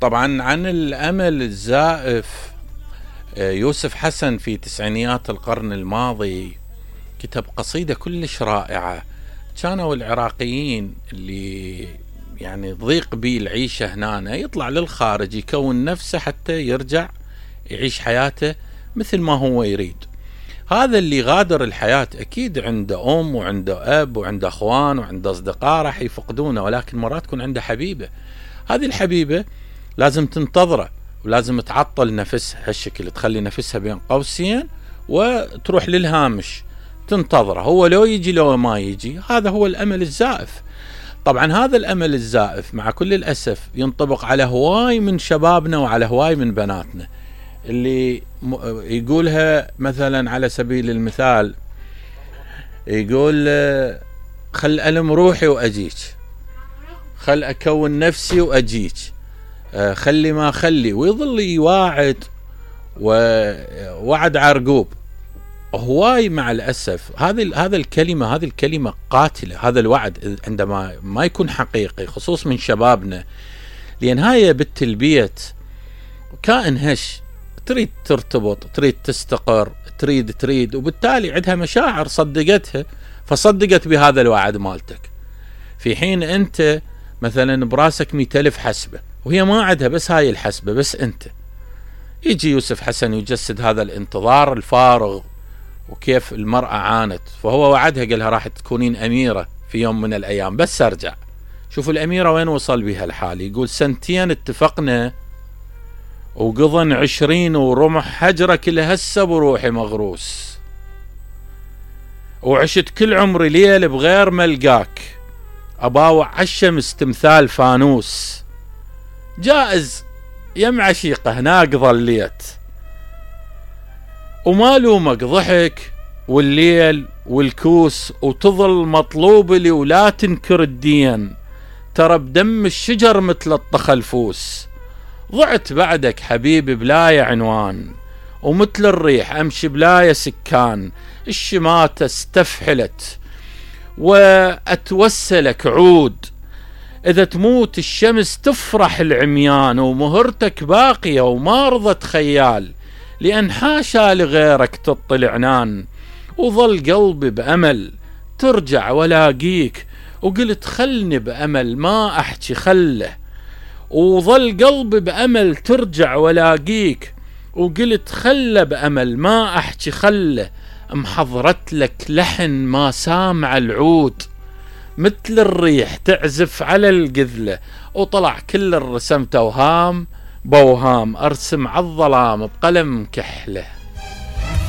طبعا عن الأمل الزائف، يوسف حسن في تسعينيات القرن الماضي كتب قصيدة كلش رائعة. كانوا العراقيين اللي يعني ضيق بيه العيشة هنا يطلع للخارج يكون نفسه حتى يرجع يعيش حياته مثل ما هو يريد. هذا اللي غادر الحياة أكيد عنده أم وعنده أب وعنده أخوان وعنده أصدقاء راح يفقدونه، ولكن مرات تكون عنده حبيبة. هذه الحبيبة لازم تنتظره ولازم تعطل نفسها هالشكل، تخلي نفسها بين قوسين وتروح للهامش تنتظره، هو لو يجي لو ما يجي. هذا هو الأمل الزائف. طبعا هذا الأمل الزائف مع كل الأسف ينطبق على هواي من شبابنا وعلى هواي من بناتنا، اللي يقولها مثلا على سبيل المثال، يقول خل ألم روحي وأجيك، خل أكون نفسي وأجيك، خلي ما خلي، ويظل يواعد ووعد عرقوب. هواي مع الأسف هذا الكلمة قاتلة. هذا الوعد عندما ما يكون حقيقي خصوص من شبابنا، لأن هاي بنت البيت كائن هش، تريد ترتبط، تريد تستقر، تريد، وبالتالي عندها مشاعر صدقتها، فصدقت بهذا الوعد مالتك، في حين أنت مثلا براسك 100,000 حسبة وهي ما عندها بس هاي الحسبة بس أنت. يجي يوسف حسن يجسد هذا الانتظار الفارغ وكيف المرأة عانت، فهو وعدها قالها راح تكونين أميرة في يوم من الأيام بس أرجع. شوفوا الأميرة وين وصل بها الحال، يقول 2 اتفقنا وقضن 20 ورمح حجرة كل هسه بروحي مغروس، وعشت كل عمري ليل بغير ملقاك، أباوع عالشمس تمثال فانوس، جائز يم عشيقة هناك ظليت، وما لومك ضحك والليل والكوس، وتظل مطلوب لي ولا تنكر الدين، ترى بدم الشجر مثل الطخلفوس، ضعت بعدك حبيبي بلاي عنوان، ومثل الريح أمشي بلاي سكان، الشماتة استفحلت وأتوسلك عود، إذا تموت الشمس تفرح العميان، ومهرتك باقية وما رضت خيال، لأن حاشا لغيرك تطلعنان، وظل قلبي بأمل ترجع ولاقيك، وقلت خلني بأمل ما أحكي خله، وظل قلبي بأمل ترجع ولاقيك، وقلت خله بأمل ما أحكي خله، محضرت لك لحن ما سامع العود، مثل الريح تعزف على القذلة، وطلع كل الرسم توهام بوهام، أرسم عالظلام بقلم كحله.